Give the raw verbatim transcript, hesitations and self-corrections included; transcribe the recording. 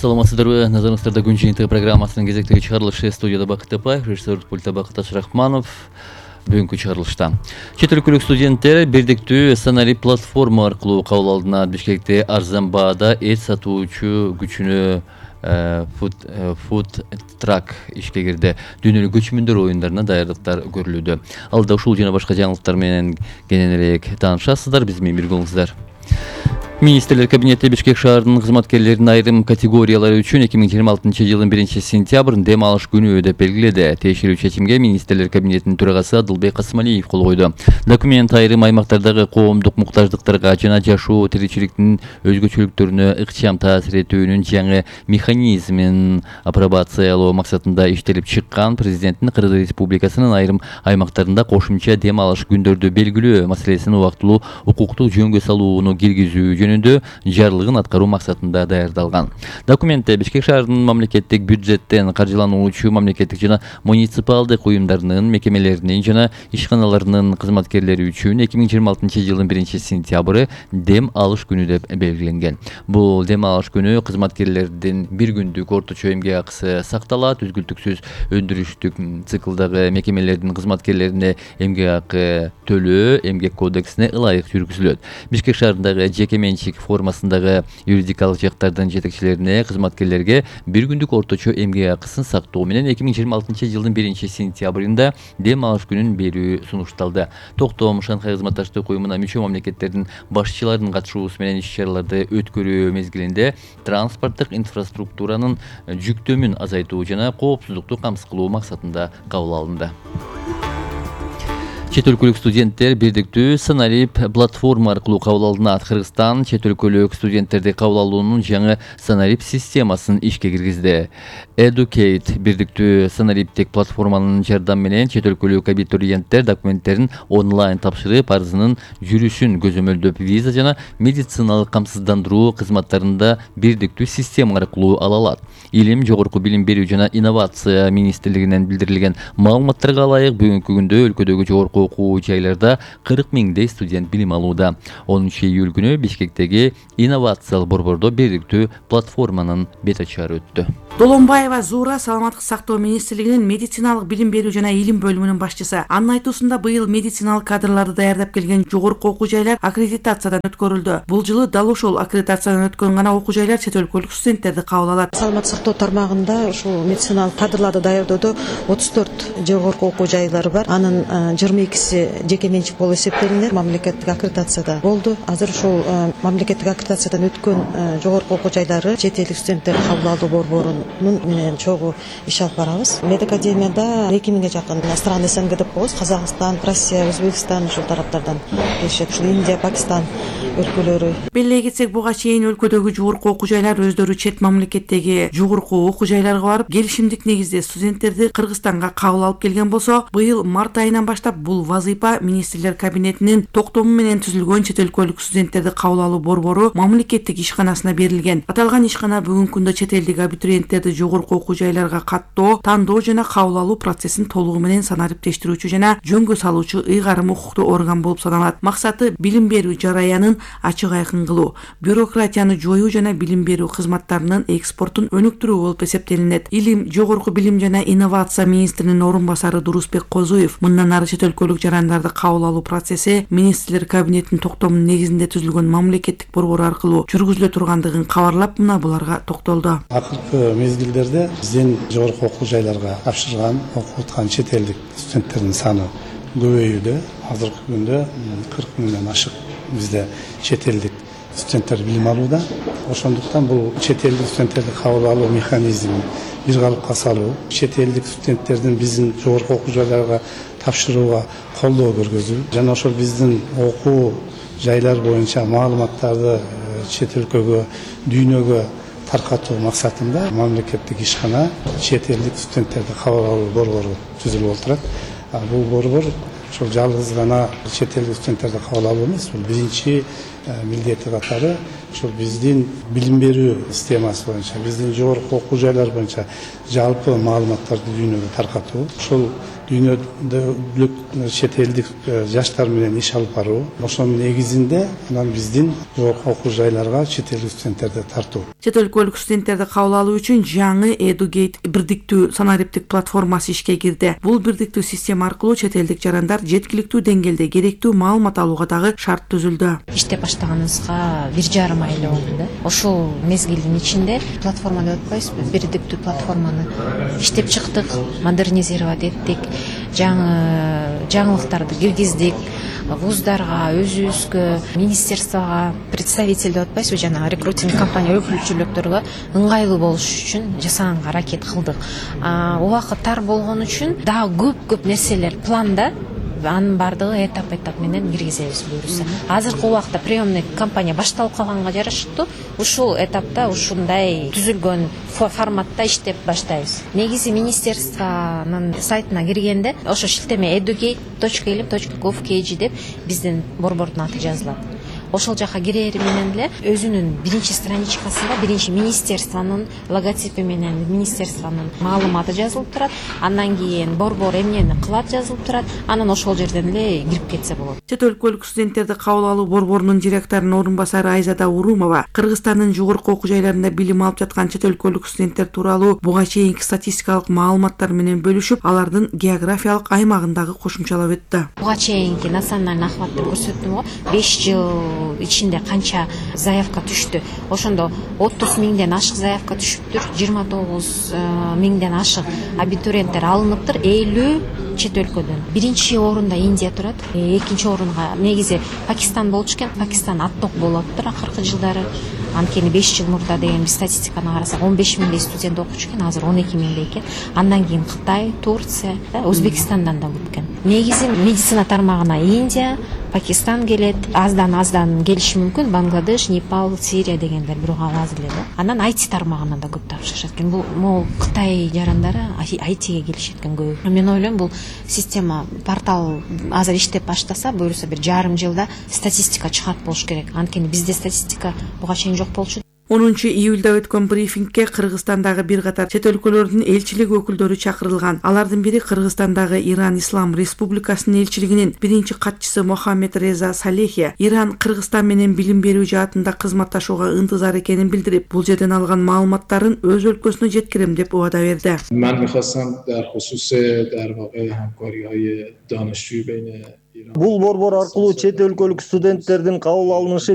Саламатсыздарбы, назарыңыздарда күн жыйынтыгы программасынын кезектеги чыгарылышы. Студияда Бакыт Тапаев, режиссер пультта Бакыт Ашрахманов. Бүгүнкү чыгарылышта чет өлкөлүк студенттер бирдиктүү сценарий платформа аркылуу кабыл алынат. Бишкекте арзан баада эт сатуучу күчүнө фуд трак ишке кирди. Дүйнөлүк көчмөндөр оюндарына даярдыктар көрүлүүдө. Алда ушул жана башка жаңылыктар менен кененирээк таанышасыздар. Биз менен бирге болуңуздар. Министрлер кабинети Бишкек шаарынын кызматкерлеринин айрым категориялары үчүн эки миң жыйырма алтынчы жылдын биринчи сентябрын дем алыш күнү деп белгиледи. Тиешелүү чечимге Министрлер кабинетинин төрагасы Адылбек Касымалиев кол койду. Документ айрым аймактардагы коомдук муктаждыктарга жана жашоо тиричиликтин өзгөчөлүктөрүнө ыкчам таасир этүүнүн жаңы механизмин апробациялоо максатында иштелип чыккан. Президенттин Кыргыз Республикасынын айрым аймактарында кошумча дем алыш күндөрдү белгилөө маселесин убактылуу укуктук жөнгө салууну киргизүү жөнүндө жарлыгын аткаруу максатында даярдалган. Документте Бишкек шаарынын мамлекеттик бюджеттен каржылануучу мамлекеттик жана муниципалдык уюмдарынын, мекемелеринин жана ишканаларынын кызматкерлери үчүн эки миң жыйырма алтынчы жылдын биринчи сентябры дем алыш күнү деп белгиленген. Бул дем алыш күнү кызматкерлердин бир күндүк орточо эмгек акысы сакталат. Үзгүлтүксүз өндүрүштүк циклдагы мекемелердин кызматкерлерине эмгек акы төлөө эмгек кодексине ылайык жүргүзүлөт. Бишкек шаарындагы жеке менчик формасындагы юридикалык жактардын жетекчилерине, кызматкерлерге бир күндүк орточо эмгек акысын сактоо менен эки миң жыйырма алтынчы жылдын биринчи сентябрында дем алыш күнүн берүү сунушталды. Токтом Шанхай кызматташтык уюмуна мүчө мамлекеттердин башчыларынын катышуусу менен иш-чараларды өткөрүү мезгилинде транспорттук инфраструктуранын жүктөмүн азайтуу жана коопсуздукту камсыз кылуу максатында кабыл алынды. Чет өлкөлүк студенттер бирдиктүү сценарий платформа аркылуу кабыл алынат. Кыргызстан чет өлкөлүк студенттерди кабыл алуунун жаңы сценарий системасын ишке киргизди. Educate бирдиктүү сценариптик платформанын жардамы менен чет өлкөлүк абитуриенттер документтерин онлайн тапшырып, арызынын жүрүшүн көзөмөлдөп, виза жана медициналык камсыздандыруу кызматтарында бирдиктүү система аркылуу ала алат. Илим, жогорку билим берүү жана инновация министрлигинен билдирилген маалыматтарга ылайык бүгүнкү күндө өлкөдөгү жогорку окуу жайларда кырк миңдей студент билим алууда. онунчу июль күнү Бишкектеги инновациялык борбордо бирдиктүү платформанын бет ачары өттү. Долонбаева Зуура саламаттык сактоо министрлигинин медициналык билим берүү жана илим бөлүмүнүн башчысы. Анын айтуусунда быйыл медициналык кадрларды даярдап келген жогорку окуу жайлар аккредитациядан өткөрүлдү. Бул жылы дал ошол аккредитациядан өткөн гана окуу жайлар чет өлкөлүк студенттерди кабыл алат. Саламаттык сактоо тармагында ушул медициналык кадрларды даярдоодо отуз төрт жогорку окуу жайлары бар. Анын жыйырма экиси жеке менчик болуп эсептелинет. Мамлекеттик аккредитацияда болду. Азыр ушул мамлекеттик аккредитациядан өткөн жогорку окуу жайлары чет элдик студенттерди кабыл алуу борборунун менен чогуу иш алып барабыз. Медакадемияда эки миңге жакын стран СНГ деп коебуз. Казакстан, Россия, Өзбекстан ушул тараптардан келишет. Ушул Индия, Пакистан өлкөлөрү. Белгилей кетсек, буга чейин өлкөдөгү жогорку окуу жайлар өздөрү чет мамлекеттеги жогорку окуу жайларга барып, келишимдик негизде студенттерди Кыргызстанга кабыл алып келген болсо, быйыл март айынан баштап бул вазыйфа Министрлер кабинетинин токтому менен түзүлгөн чет өлкөлүк студенттерди кабыл алуу борбору мамлекеттик ишканасына берилген. Аталган ишкана бүгүнкү күндө чет элдик абитуриенттерди жогорку окуу жайларга каттоо, тандоо жана кабыл алуу процессин толугу менен санариптештирүүчү жана жөнгө салуучу ыйгарым укуктуу орган болуп саналат. Максаты билим берүү жараянын ачык айкын кылуу, бюрократияны жоюу жана билим берүү кызматтарынын экспортун өнүктүрүү болуп эсептелинет. Илим, жогорку билим жана инновация министринин орун басары Дурусбек Козуев мындан ары чет өлкөлүк жарандарды кабыл алуу процесси Министрлер кабинетинин токтомунун негизинде түзүлгөн мамлекеттик борбор аркылуу жүргүзүлө тургандыгын кабарлап, мына буларга токтолду. Акыркы мезгилдерде биздин жогорку окуу жайларга тапшырган, окуп аткан чет элдик студенттердин саны көбөйүүдө. Азыркы күндө кырк миңден ашык бизде чет элдик студенттер билим алууда. Ошондуктан бул чет элдик студенттерди кабыл алуу механизмин бир калыпка салуу, чет элдик студенттердин биздин жогорку окуу жайларга тапшырууга колдоо көргөзүү жана ошол биздин окуу жайлар боюнча маалыматтарды чет өлкөгө, дүйнөгө таркатуу максатында мамлекеттик ишкана чет элдик студенттерди кабыл алуу борбору түзүлүп отурат. Бул борбор ошол жалгыз гана чет элдик студенттерди кабыл алуу эмес, бул биринчи милдети катары ошол биздин билим берүү системасы боюнча, биздин жогорку окуу жайлар боюнча жалпы маалыматтарды дүйнөгө таркатуу. Ошол дүйнөлүк чет элдик жаштар менен иш алып баруу, ошонун негизинде анан биздин жогорку окуу жайларга чет элдик студенттерди тартуу. Чет өлкөлүк студенттерди кабыл алуу үчүн жаңы Educate бирдиктүү санариптик платформасы ишке кирди. Бул бирдиктүү система аркылуу чет элдик жарандар жеткиликтүү деңгээлде керектүү маалымат алууга дагы шарт түзүлдү. Иштеп баштаганыбызга бир жарым ай эле болду да. Ошол мезгилдин ичинде платформа деп атпайбызбы, бирдиктүү платформаны иштеп чыктык, модернизировать эттик, жаңы жаңылыктарды киргиздик. Вуздарга, өзүбүзгө, министерствого представитель деп атпайбызбы, жана рекрутинг компания өкүлчүлүктөргө ыңгайлуу болуш үчүн жасаганга аракет кылдык. Убакыт тар болгон үчүн дагы көп-көп нерселер планда. Анын бардыгы этап-этап менен киргизебиз буюрса. Азыркы убакта приемный кампания башталып калганга жараштуу ушул этапта ушундай түзүлгөн форматта иштеп баштайбыз. Негизи министерствонун сайтына киргенде ошо шилтеме educate точка илим точка gov точка kg деп биздин борбордун аты жазылат. Ошол жака кирери менен эле өзүнүн биринчи страничкасында биринчи министерствонун логотипи менен министерствонун маалыматы жазылып турат. Андан кийин борбор эмнени кылат жазылып турат. Анан ошол жерден эле кирип кетсе болот. Чет өлкөлүк студенттерди кабыл алуу борборунун директорунун орун басары Айзада Урумова Кыргызстандын жогорку окуу жайларында билим алып жаткан чет өлкөлүк студенттер тууралуу буга чейинки статистикалык маалыматтар менен бөлүшүп, алардын географиялык аймагындагы кошумчалап өттү. Буга чейинки национальный охват деп көрсөттүм го. беш жыл ичинде канча заявка түштү. Ошондо отуз миңден ашык заявка түшүптүр, жыйырма тогуз миңден ашык абитуриенттер алыныптыр, элүү чет өлкөдөн. Биринчи орунда Индия турат, экинчи орунга негизи Пакистан болчу экен. Пакистан атток болуптур акыркы жылдары. Анткени беш жыл мурда деген биз статистиканы карасак он беш миңдей студент окучу экен, азыр он эки миңдей экен. Андан кийин Кытай, Турция, Өзбекстандан да көп экен. Негизи медицина тармагына Индия, Пакистан келет, аздан-аздан келиши мүмкүн Бангладеш, Непал, Сирия дегендер бирок аз эле да. Анан ай ти тармагынан да көп тапшырышат экен. Бул могу Кытай жарандары ай тиге келишет экен көбү. Мен ойлойм бул система портал азыр иштеп баштаса, буюрса бир жарым жылда статистика чыгат болуш керек. Анткени бизде статистика буга чейин жок болчу. онунчу июлда өткөн брифингке Кыргызстандагы бир катар чет өлкөлөрдүн элчилиги өкүлдөрү чакырылган. Алардын бири Кыргызстандагы Иран Ислам Республикасынын элчилигинин биринчи катчысы Мохаммед Реза Салехи Иран Кыргызстан менен билим берүү жаатында кызматташууга ынтызар экенин билдирип, бул жерден алган маалыматтарын өз өлкөсүнө жеткирем деп убада берди. Мен михвастам дар хусуси дар вақеъ ҳамкориҳои донишҷӯ бейни Бул борбор аркылуу чет өлкөлүк студенттердин кабыл алынышы